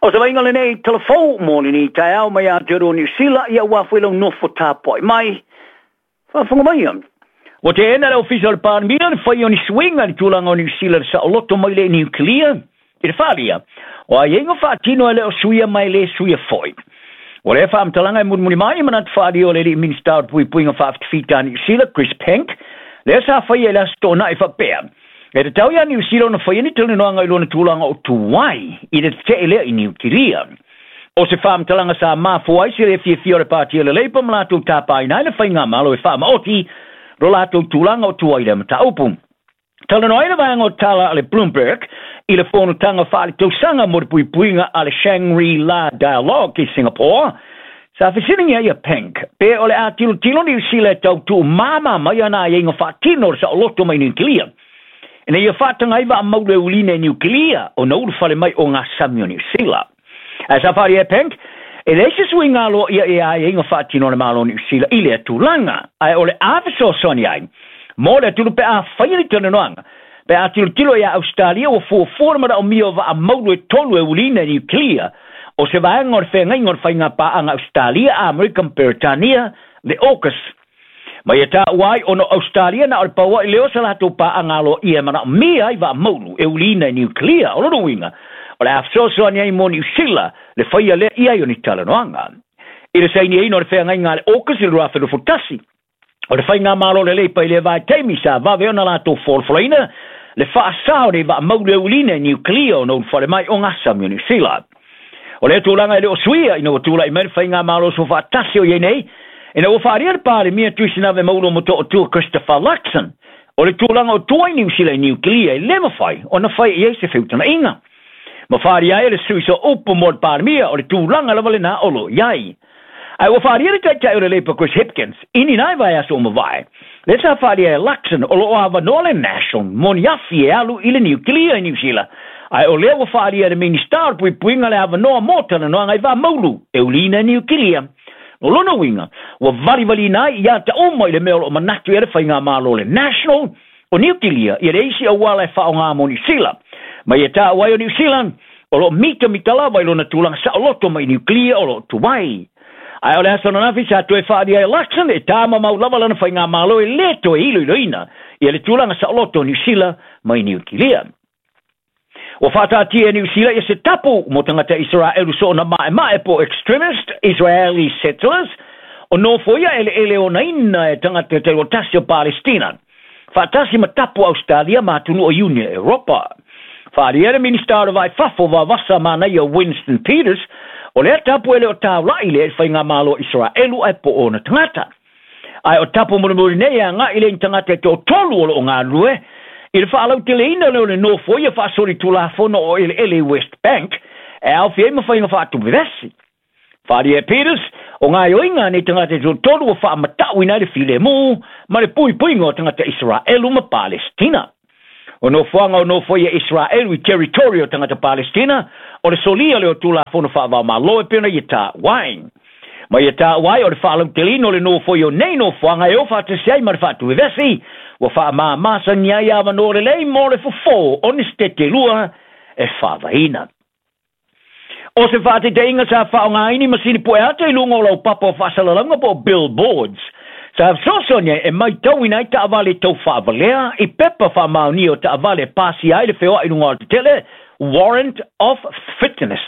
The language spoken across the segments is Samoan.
O se vaaiga lenei talavou mo lenei taeao mai Aotearoa Niu Sila, ia aua foi lau nofo tapuai mai. Faafofoga maia. Ua teena le Ofisa o le Palemia le faia o ni suiga i le tulaga o Niu Sila i le saoloto mai le niukilia i le faaalia o aiaiga faatino e le o suia ma e le suia foi. O lea faamatalaga e mulimuli mai i manatu faaalia o le alii Minisita o le Puipuiga Faafitafita a Niu Sila, Chris Penk, lea sa faia i le Aso Toonai faapea, E tatau iā Niu Sila ona faia ni talanoaga i lona tulaga o tuai i le tetee lea i Niukilia. O se faamatalaga sa mafua ai se le fiafia o le Pāti a le Labour ma latou tapaina ai le faigamalo e faamaoti lo latou tulaga o tuai i lea mataupu. Talanoa ai le vaega o tala a le Bloomberg i le fonotaga faaletausaga mo le puipuiga a le Shangri-La Dialogue i Singapore, sa fesiligia ai a Penk pe o le a tilotilo Niu Sila e tau tuumāmā mai ana aiaiga faatino o le saoloto mai Niukilia ina ia faataga ai vaa maulu e ulina i Niukilia ona ulufale mai o ngā sami o Niu Sila. Ae sa faaalia e Penk, e leai se suiga aloaia i aiaiga faatino a le Malo o Niu Sila i lea tulaga, ae o le a fesoasoani ai mo le atunuu pe a faia ni talanoaga pe a tilotilo iā Ausetalia ua fuafua le manaomia o vaa maulu e tolu e ulina i Niukilia o se vaega o le feagaiga o le faigapaaga Ausetalia, Amerika ma Peretania, le AUKUS. Ma ia taua ai ona o Ausetalia na o le pau ai lea o se latou paaga aloaia e manaomia ai vaa maulu e uliina i Niukilia. O lona uiga, o le a fesoasoani ai mo Niu Sila le faia lea i ai o ni talanoaga. I le sainiaina o le feagaiga a le AUKUS i le 2021, o le faigamalo lelei pai lea vaitaimi sa vave ona latou folafolaina le faasa o nei vaa maulu e uliina i Niukilia ona ulufale mai o Gasami o Niu Sila. O lea tulaga e le o suia ina ua tulai mai le faigamalo soofaatasi o i ai nei, ina ua faaalia le Palemia Tuisinave Maulo Motootua Christopher Luxon, o le tulaga o tua i Niu Sila i Niukilia e le mafai ona fai i ai se feutagaiga. Ma faaalia ai e le sui sooupu mo le Palemia o le tulaga lava lena o lo o i ai. Ae ua faaalia le Taitai o le Labour Chris Hipkins i ni nai vaiaso ua mavae, lea sa faaalia e Luxon o lo o avanoa le National mo ni afi e alu i le niukilia i Niu Sila, ae o lea ua faaalia e le Minista o le Puipuiga le avanoa mo talanoaga i Vamaulu e uliina i niukilia. O lona uiga, ua valivaliina ai ia ata uma i le mea o lo o manatu i ai le faigamalo o le National o Niukilia ia le isi auala e faaaoga mo Niu Sila. Ma ia taua ai o Niu Sila, o lo o mitamita lava i lona tulaga saoloto mai niukilia o lo o tuai. Ae o le aso ananafi sa toe faaalia ai e Luxon e tāmamau lava lana faigamalo e lē toe iloiloina ia le tulaga saoloto o Niu Sila mai Niukilia. Ua faataatia e Niu Sila ia se tapu mo tagata Isaraelu soona maemae po o extremist Israeli settlers o nofoia eleele onaina e tagata taitoatasi o Palestina, faatasi ma tapu Ausetalia ma atunuu o Iunia Europa. Faaalia le Minista o le Vai Fafo Vavasa Manaia Winston Peters, o lea tapu e le o taula'i lea i le faigamalo o Isaraelu ae po o ona tagata. Ae o tapu mulimuli nei e agai lea i ni tagata e toatolu o lo o galulue i le faalauteleina lea o le nofoia faasolitulafono o eleele i West Bank e aofia ai ma faiga faatuvevesi. Faaalia e Peters, o gaoioiga a nei tagata e toatolu ua faamatauina ai le filemu ma le puipuiga o tagata Isaraelu ma Palestina. O nofoaga o nofoia Isaraelu i territory o tagata Palestina, o le solia lea o Tulafono Faavaomalo e pei ona ia taua ai. Ma ia taua ai o le faalauteleina o le nofoia o nei nofoaga e o faatasi ai ma le faatuvevesi, ua faamāmāsani ai avanoa lelei mo le fofo o ni setete lua e faavaeina. O se faataitaiga sa faaaogaina i masini pueata i luga o laupapa o faasalalauga po o billboards, sa fesoasoani ai e maitauina ai taavale tau faavalea i pepa faamaonia o taavale e pasia ai le feoai i luga o alatetele, warrant of fitness.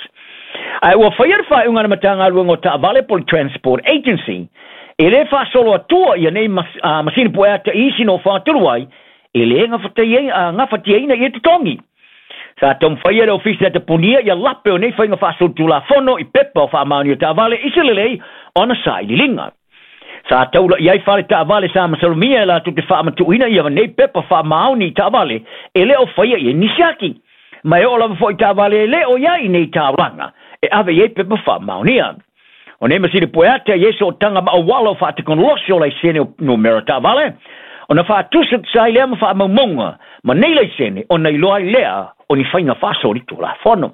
Ae ua faia le faaiuga a le Matagaluega o Taavale po o le Transport Agency e le faasolo atua ia nei masini pueata i isi nofoaga talu ai e le gafatiaina ia totogi. Sa taumafai e le Ofisa e tapunia ia lape o nei faiga faasolitulafono i pepa o faamaonia o taavale i se lelei o ana sailiiliga. Sa taula i ai fale taavale sa masalomia e latou te faamatuuina ia nei pepa faamaoni i taavale e le o faia i ai nisi aki. Ma e oo lava foi i taavale e le o i ai i nei taulaga e ave i ai pepa faamaonia. O nei masini pueata e i ai sootaga ma auala o faatekonolosi o laisene o numera taavale, ona faatusatusa ai lea ma faamaumauga ma nei laisene ona iloa ai lea o ni faiga faasolitulafono.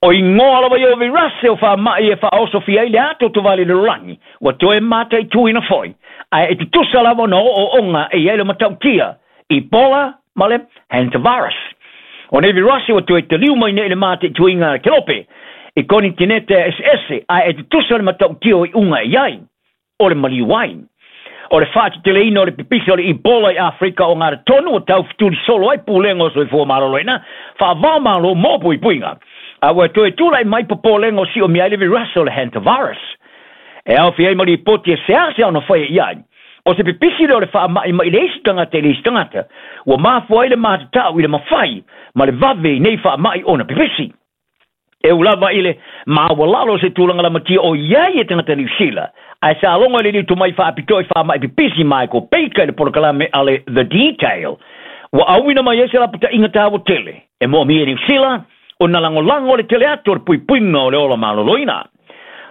O igoa lava ia o virase o faama'i e faaosofia ai le ato tovale i le lalolagi, ua toe mataituina foi, ae e tutusa lava ona ooooga e i ai le matautia, Ebola ma le Hantavirus. O nei virase ua toe taliu mai nei i le mataituina a le Kelope i konitinete eseese, ae e tutusa le matautia o iuga e i ai, o le maliu ai. O le faateteleina o le pipisi o le Ebola i Afrika o Gatatonu ua taufetuli solo ai Pulega o Soifua Maloloina faava-o-Malo mo puipuiga, a ua toe tulai mai popolega o siomia ai le virase o le Hantavirus. E aofia ai ma lipoti e seasea ona faia i ai. O se pipisi lea o le faamai mai le isi tagata i le isi tagata, ua mafua ai le matatau i le mafai ma le vave i nei faamai ona pipisi. E ū lava i le maualalo o se tulaga lamatia o i ai e tagata Niu Sila, ae sa logo i le liutu mai faapitoa i faamai pipisi Michael Baker i le polokalame a le The Detail, ua auina mai ai se lapataiga taua tele e moomia i Niu Sila ona lagolago le tele atu o le puipuiga o le ola maloloina.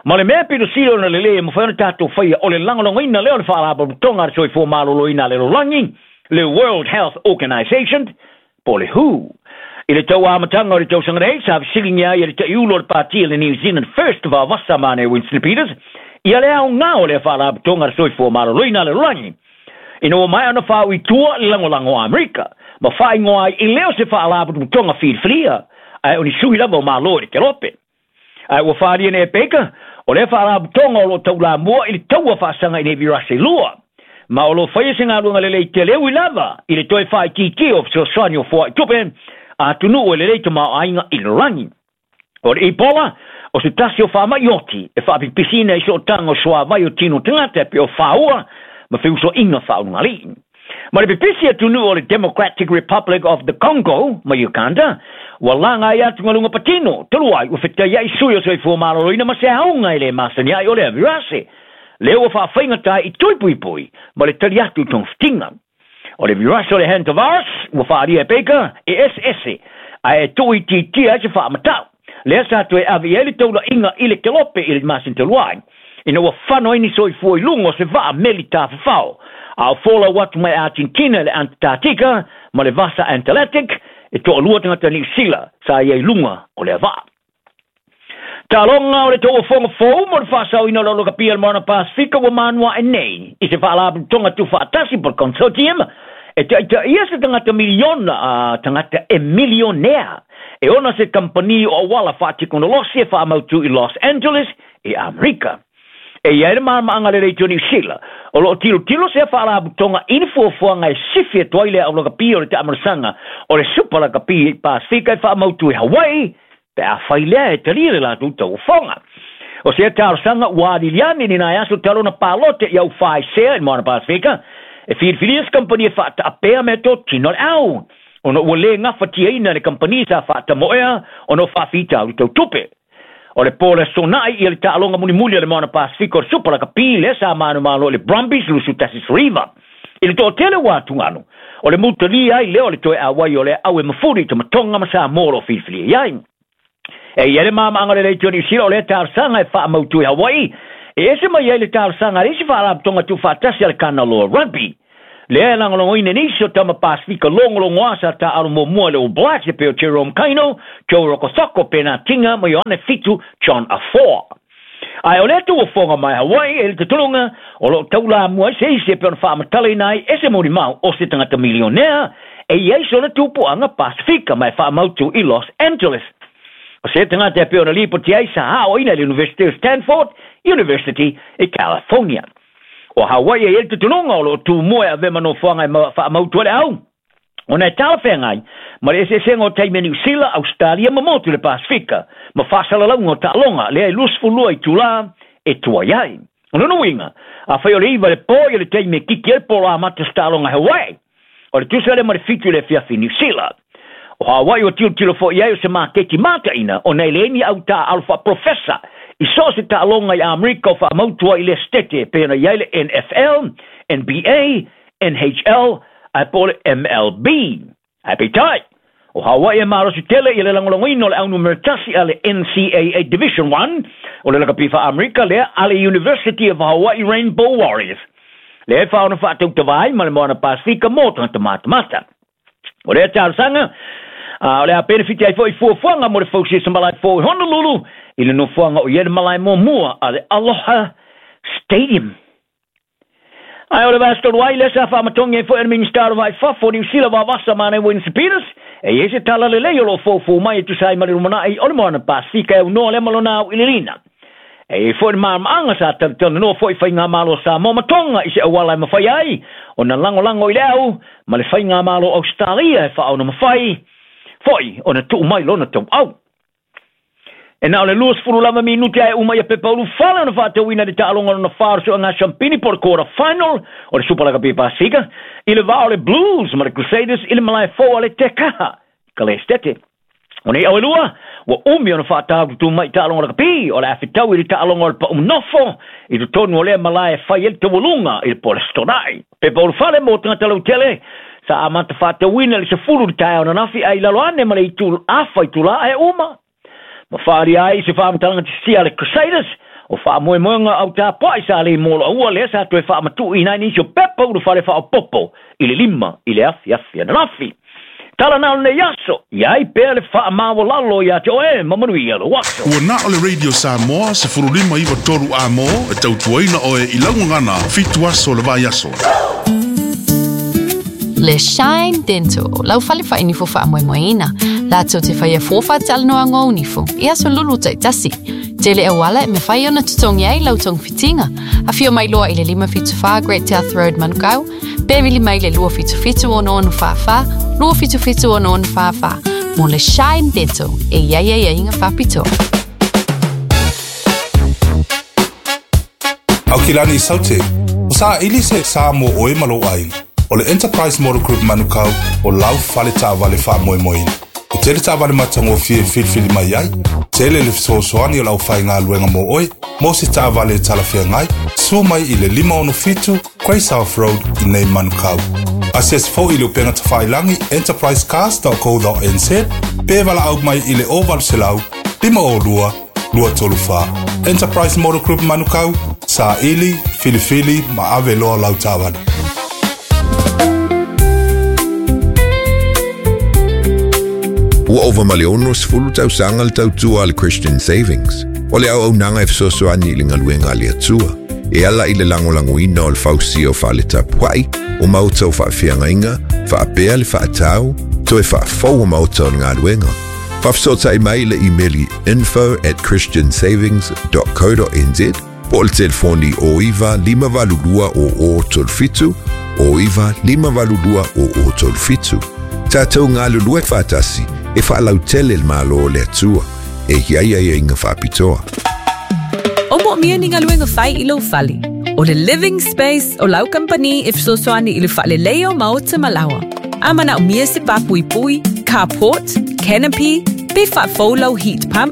Ma le mea pito sili ona lelei e mafai ona tatou faia o le lagolagoina lea o le Faalapotopotoga a le Soifua Maloloina a le Lalolagi, le World Health Organization, po o le who. I le tau amataga o le tausaga nei, sa fesiligia ai e le taiulu o le pati a le New Zealand First vaavasa mane Winston Peters ia le aoga o lea Faalapotopotoga a le Soifua Maloloina a le Lalolagi ina ua maea ona faaui i tua le lagolago a Amerika ma faaigoa ai e le o se faalapotopotoga filifilia ae o ni sui lava o Malo i le Kelope. Ae ua faaalia nei e Baker, o lea faalapotopotoga o lo o taulamua i le taua faasaga i nei virase e lua, ma o lo o faia se galuega lelei tele ui lava i le toe faaitiitia o fesoasoani o foai tupe a atunuu e lelei tamaoaiga i le lalolagi. O le Ebola, o se tasi o faamai oti e faapipisiina i sootaga o suavai o tino tagata e pei o faua ma feusoaiga faaulugalii. Ma le pipisi atunuu o le Democratic Republic of the Congo ma Uganda, ua laga ai atugaluga patino, talu ai ua fetaiai sui o Soifua Maloloina ma se auga e le masani ai o lea virase, lea ua faafaigata ai i tui puipui ma le tali atu i togafitiga. O le virase o le Hantavirus ua faaalia e Baker e eseese ae e tuuitiitia ai se faamatau, lea sa toe ave i ai le taulaiga i le Kelope i le masina talu ai, ina ua fano ai ni soifua i luga o se vaa meli tafafao, a o folau atu mai Argentina i le Antarctica ma le Vasa Antarctic, e toalua tagata Niu Sila sa i ai i luga o lea vaa. Taloga o le tauofoga fou mo le faasaoina o le Olokapia o le Moana Pasefika ua manuae nei i se faalapotopotoga tuufaatasi po o le consortium e taitaia se tagata miliona a tagata e milionea e ona se kamupani o auala faatekonolosi e faamautu i Los Angeles i Amerika. E i ai le malamalamaaga lelei o Niu Sila, o lo o tilotilo sea faalapotopotoga i ni fuafuaga e sifi atu ai le aulakapi o le taamalosaga o le Supa Lakapi i Pasefika e faamautu i Hawaii pe afai lea e talia le latou tauofoga. O sea talosaga ua aliliane ni nai aso talu ona palote i au faisea i le Moana Pasefika e filifilia se kamupani e faataapea meatotino a le au, ona ua le gafatiaina e le kamupani sa faatamoea ona o faafitauli tau tupe. O le po le aso na'i ia le taaloga mulimuli a le Moana Pasefika o le Supa Lakapi lea sa manumalo i le Brumbies 21-9. I le toatele ua atugalu, o le mutalia ai lea o le toe auai o lea au e mafuli i Tamatonga ma Samoa o lo o filifilia i ai. E i ai le mamaaga lelei o Niu Sila o lea talosaga e faamautu i Hawaii, e ese mai ai le talosaga a le isi faalapotopotoga tuufaatasi a le Kanaloa Rugby. Lea e lagolagoina e nisi o tama Pasefika logologoa sa taaalo muamua i le All Blacks e pei o Jerome Kaino, Joe Rokocoko, Bernard Tinga ma Ioane Fitu John Afoa. Ae o lea tauofoga mai Hawaii e le tataloga o lo o taulamua ai se isi e pei ona faamatalaina ai e se molimau o se tagata milionea e i ai sona tupuaga Pasefika ma e faamautu i Los Angeles. O se tagata e pei ona lipoti ai sa aoaina i le University o Stanford University i California. O Hawaii e i ai le tutunuga o lo o tumua e avea ma nofoaga e faamautu ai le au, ona e talafeagai ma le eseesega o taimi a Niu Sila, Ausetalia ma motu i le Pasefika, ma faasalalauga o taaloga lea e 22 itulā e tuai ai. O lona uiga, afai o le 9 i le po ia le taimi e kiki ai le polo amata o se taaloga i Hawaii, o le tusa lea ma le 7 i le afiafi i Niu Sila. O Hawaii ua tilotilo foi i ai o se maketi mataina ona e leai ni au taaalo faaprofesa i so o se taaloga i Amerika o faamautu ai i lea setete e pei ona i ai le NFL, NBA, NHL ae po o le MLB. Ae peitai, o Hawaii e malosi tele i le lagolagoina o le au numera tasi a le NCAA Division I o le lakapi faa-Amerika lea a le University of Hawaii Rainbow Warriors, lea e faaono faatautava ai ma le Moana Pasefika mo tagata matamata. O lea talosaga A o le a penefiti ai fo'i fuafuaga mo le fausia se malae fou i Honolulu i le nofoaga o i ai le malae muamua a le Aloha Stadium. Ae o le vaiaso talu ai lea sa faamatogi ai foi e le Minisita o le Va i Fafo o Niu Sila Vavasa Manaia Winston Peters e i ai se tala lelei o lo o foufou mai e tusa ai ma le lumanai o le Moana Pasefika e aunoa lea ma lona auiliiliina. E i ai foi le malamaaga sa talatalanoa foi Faigamalo a Samoa ma Tonga i se auala e mafai ai ona lagolago i le au ma le Faigamalo Ausetalia e faaonamafai foi ona tuu mai lona tauau. E na o le 20 lava minute ae uma ia pepa ulufale ona faatauina le taaloga lona fa o le sueaga siampini po o le quarter final o le Supa Lakapi Pasefika i le va o le Blues ma le Crusaders i le malae fou a le Tekaha i Kalesetete. O nei au e lua, ua umi ona faataututu mai i taaloga lakapi o le a fetaui i le taaloga o le pau nofo i totonu o lea malae e fai ai le taualuga i le po o le Aso Toonai. Pepa ulufale mo tagata lautele sa amata faatauina i le 10 i le taeao ananafi ae i lalo ane ma le itu afa itula ae uma. Ma faaalia ai se faamatalaga tisia a le Crusaders, o faamoemoega au tapuai sa lei mo loaua lea sa toe faamatuuina ai nisi o pepa ulufale faaopoopo i le 5 i le afiafi ananafi. Tala na o lenei aso, i ai pea le faamaualalo ia te oe ma manuia lou aso. Ua na o le Radio Samoa 15 93 Amo e tautuaina oe i lau gagana 7 aso o le vaiaso. Le Shine Dental, lau fale faainifo faamoemoeina. Latou te faia fua faatalanoaga o nifo i aso lulu taitasi. Tele auala e mafai ona totogi ai lau togafitiga. Afio mai loa i le 574 Great South Road Manukau, pe vili mai le 277 6644, 277 6644 mo le Shine Dental e i ai aiaiga faapitoa. Aukilani Saute, o saili se sa mo oe ma lou aiga. O le Enterprise Motor Group Manukau o lau fale taavale faamoemoeina. E tele taavale matagofie e filifili mai ai, tele le fesoasoani o le aufaigaluega mo oe, mo se taavale e talafeagai, sua mai i le 567 Grey South Road i nei Manukau. Asiasi foi i le upega tafailagi enterprisecars.co.nz pe valaau mai i le 0800 502 234. Enterprise Motor Group Manukau, saili, filifili ma ave loa lau taavale. Ua ova ma le 60 tausaga le tautua a le Christian Savings. O le auaunaga e fesoasoani i le galuega a le Atua, e ala i le lagolagoina o le fausia o fale tapuai, o maota o faafeagaiga, faapea le faatau, toe faafou o maota o le galuega. Faafesootai mai i le imeli info@christiansavings.co.nz po o le telefoni o 9 582 00 37 o 9 582 00 37. Tatou galulue faatasi e faalautele le Malo o le Atua e i ai aiaiga faapitoa. O moomia ni galuega fai i lou fale. O le Living Space o lau kamupani e fesoasoani i le faaleleia o maota ma laoa. A manaomia se papuipui, carport, canopy, pe faafou lau heat pump.